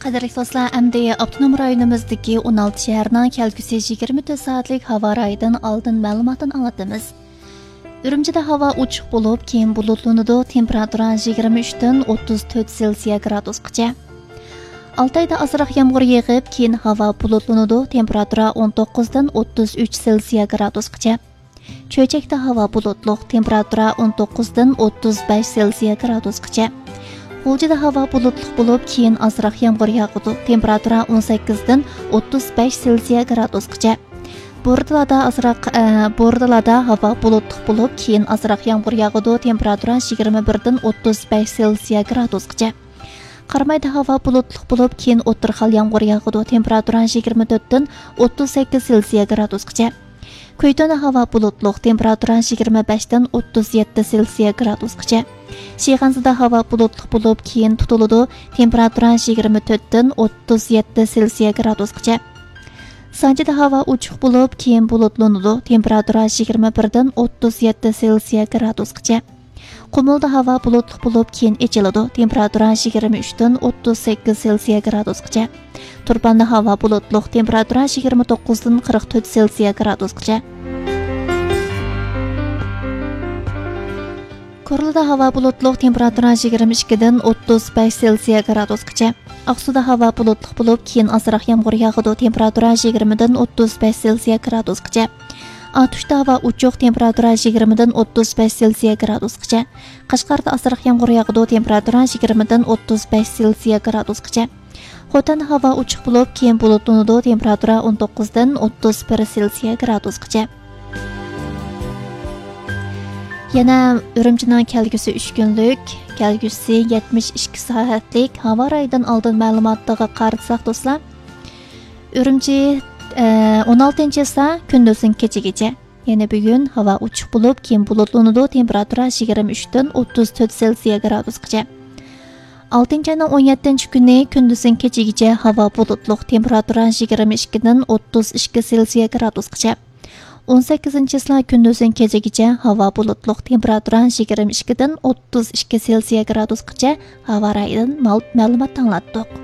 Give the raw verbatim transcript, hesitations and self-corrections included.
قەدىرلىك دوستلار، ئەمدى ئاپتونوم رايونىمىزدىكى ئون ئالتە شەھەرنىڭ كەلگۈسى يىگىرمە تۆت سائەتلىك ھاۋا رايىدىن ئالدىن مەلۇماتىنى ئاڭلىتىمىز. ئۈرۈمچىدە ھاۋا ئوچۇق بولۇپ، كېيىن بۇلۇتلىنىدۇ، تېمپېراتۇرا يىگىرمە ئۈچتىن ئوتتۇز تۆت سېلسىيە گرادۇسقىچە. ئالتايدا ئازراق يامغۇر يېغىپ، كېيىن ھاۋا بۇلۇتلىنىدۇ، تېمپېراتۇرا ئون توققۇزدىن ئوتتۇز ئۈچ سېلسىيە گرادۇسقىچە. چۆچەكتە ھاۋا بۇلۇتلۇق، تېمپېراتۇرا ئون توققۇزدىن ئوتتۇز بەش سېلسىيە گرادۇسقىچە. غۇلجىدا ھاۋا بۇلۇتلۇق بولۇپ، كېيىن ئازراق يامغۇر ياغىدۇ، تېمپېراتۇرا ئون سەككىزدىن ئوتتۇز بەش سېلسىيە گرادۇسقىچە. بورتالادا ئازراق، ئە، بورتالادا ھاۋا بۇلۇتلۇق بولۇپ، كېيىن ئازراق يامغۇر ياغىدۇ، تېمپېراتۇرا يىگىرمە بىردىن ئوتتۇز بەش سېلسىيە گرادۇسقىچە. قارامايدا ھاۋا بۇلۇتلۇق بولۇپ، كېيىن ئوتتۇرا خىيال يامغۇر ياغىدۇ، تېمپېراتۇرا يىگىرمە تۆتتىن ئوتتۇز سەككىز سېلسىيە گرادۇسقىچە. كۈيتۆنە ھاۋا بۇلۇتلۇق، تېمپېراتۇرا يىگىرمە بەشتىن ئوتتۇز يەتتە سېلسىيە گرادۇسقىچە. شىخەنزىدە ھاۋا بۇلۇتلۇق بولۇپ، كېيىن تۇتۇلىدۇ، تېمپېراتۇرا يىگىرمە تۆتتىن ئوتتۇز يەتتە سېلسىيە گرادۇسقىچە. سانجىدا ھاۋا ئوچۇق بولۇپ، كېيىن بۇلۇتلىنىدۇ، تېمپېراتۇرا يىگىرمە بىردىن ئوتتۇز يەتتە سېلسىيە گرادۇسقىچە. قۇمۇلدا ھاۋا بۇلۇتلۇق بولۇپ، كېيىن ئېچىلىدۇ، تېمپېراتۇرا يىگىرمە ئۈچتىن ئوتتۇز سەككىز سېلسىيە گرادۇسقىچە. تۇرپاندا ھاۋا بۇلۇتلۇق، تېمپېراتۇرا يىگىرمە توققۇزدىن قىرىق تۆت سېلسىيە گرادۇسقىچە. كورلىدا ھاۋا بۇلۇتلۇق، تېمپېراتۇرا يىگىرمە ئىككىدىن ئوتتۇز بەش سېلسىيە گرادۇسقىچە. ئاقسۇدا ھاۋا بۇلۇتلۇق بولۇپ، كېيىن ئازراق يامغۇر ياغىدۇ، تېمپېراتۇرا يىگىرمىدىن ئوتتۇز بەش سېلسىيە گرادۇسقىچە. ئاتۇشتا ھاۋا ئوچۇق، تېمپېراتۇرا يىگىرمىدىن ئوتتۇز بەش سېلسىيە گرادۇسقىچە. قەشقەردە ئازراق يامغۇر ياغىدۇ، تېمپېراتۇرا يىگىرمىدىن ئوتتۇز بەش سېلسىيە گرادۇسقىچە. خوتەندە ھاۋا ئوچۇق بولۇپ، كېيىن بۇلۇتلىنىدۇ، تېمپېراتۇرا ئون توققۇزدىن ئوتتۇز بىر سېلسىيە گرادۇسقىچە. يەنە ئۈرۈمچىنىڭ كەلگۈسى ئۈچ كۈنلۈك، كەلگۈسى يەتمىش ئىككى سائەتلىك ھاۋا رايىدىن ئالدىن مەلۇماتىغا قارىساق، دوستلار، ئۈرۈمچى، ئە، ئون ئالتىنچى چىسلا كۈندۈزدىن كېچىگىچە. يەنە بۈگۈن ھاۋا ئوچۇق بولۇپ، كېيىن بۇلۇتلىنىدۇ، تېمپېراتۇرا يىگىرمە ئۈچتىن ئوتتۇز تۆت سېلسىيە گرادۇسقىچە. ئالتىنچى ئاينىڭ ئون يەتتىنچى كۈنى كۈندۈزدىن كېچىگىچە ھاۋا بۇلۇتلۇق، تېمپېراتۇرا يىگىرمە ئىككىدىن ئوتتۇز ئىككى سېلسىيە گرادۇسقىچە. ئون سەككىزىنچى چىسلا كۈندۈزدىن كېچىگىچە ھاۋا بۇلۇتلۇق، تېمپېراتۇرا يىگىرمە ئىككىدىن ئوتتۇز ئىككى سېلسىيە گرادۇسقىچە. ھاۋا رايىدىن مەل-، مەلۇمات ئاڭلاتتۇق.